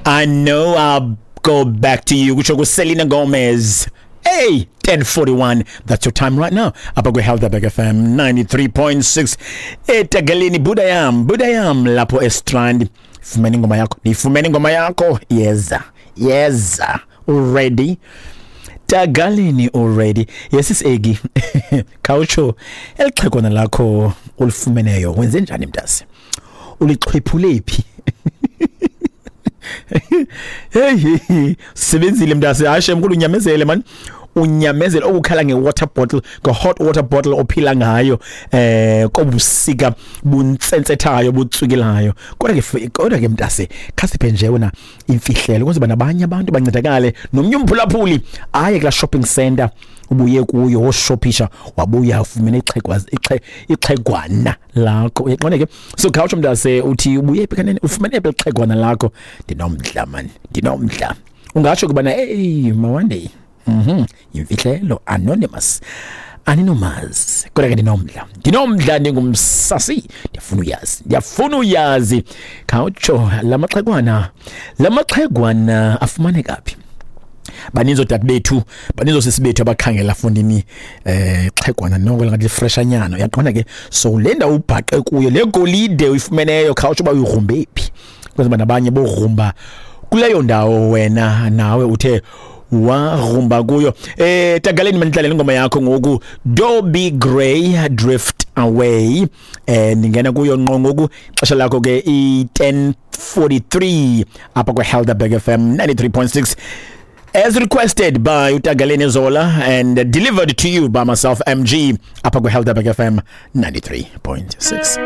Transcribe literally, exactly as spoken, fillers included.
I know I'll go back to you, kutsho kuSelena Gomez. Hey, ten forty-one, that's your time right now. Apha kwi-Helderberg F M ninety-three point six eTagaleni, Budayam, Budayam lapho eStrand. Fumene ingoma yakho, nifumene ingoma yakho. Yeza, yeza. Already. Tagaleni already. Yes, is Egi. Khawutsho elixhegwana lakho ulifumeneyo wenze njani mntase? Ulixhwephule phi? Hey, sebenzile mntase. Hayi mkhulu, unyamezele man. Unyamezele okukhala nge-water bottle, nge-hot water bottle ophila ngayo eh kobusika buntsentsethayo butswikilayo. Kodwa ke kodwa ke mntase, khasiphe nje wena imfihlelo ukuze nabanye abantu bancedakale. Nomnye umphulaphuli aye kula shopping center ubuye kuyo woshophisha wabuya ufumene ixhegwa ixhegwana lakho. Uyaqonda ke? So khawutsho mntase, uthi ubuye phi kanene, ufumene phi ixhegwana lakho? Ndinomdla man, ndinomdla. Ungatsho kubana hey mawande. Mhm. Imfihlelo anonymous. Aninomazi. Kodwa ke ndinomdla. Ndinomdla ndingumsasi. Ndiyafuna uyazi. Ndiyafuna uyazi. Khawutsho lamaxhegwana. Lamaxhegwana afumaneka phi? Baninzi oodade bethu, baninzi oosisi bethu abakhangela fondini eh xhegwana noko ngathi freshanyana. Uyaqonda ke? So le ndawo ubhaqe kuyo, le golide uyifumeneyo, khawutsho uba uyigrumbe phi? Kwenzela nabanye bogrumba kuleyo ndawo wena nawe uthe warumba kuyo. Eh Tagaleni manidlalele ingoma yakho ngoku, Dobie Gray, Drift Away. Eh ndingena kuyo ngqo ngoku, ixesha lakho ke i ten forty-three apha kwi Helderberg F M ninety-three point six. As requested by Utagaleni Zola and delivered to you by myself, M G, apha kwi Helderberg F M ninety-three point six.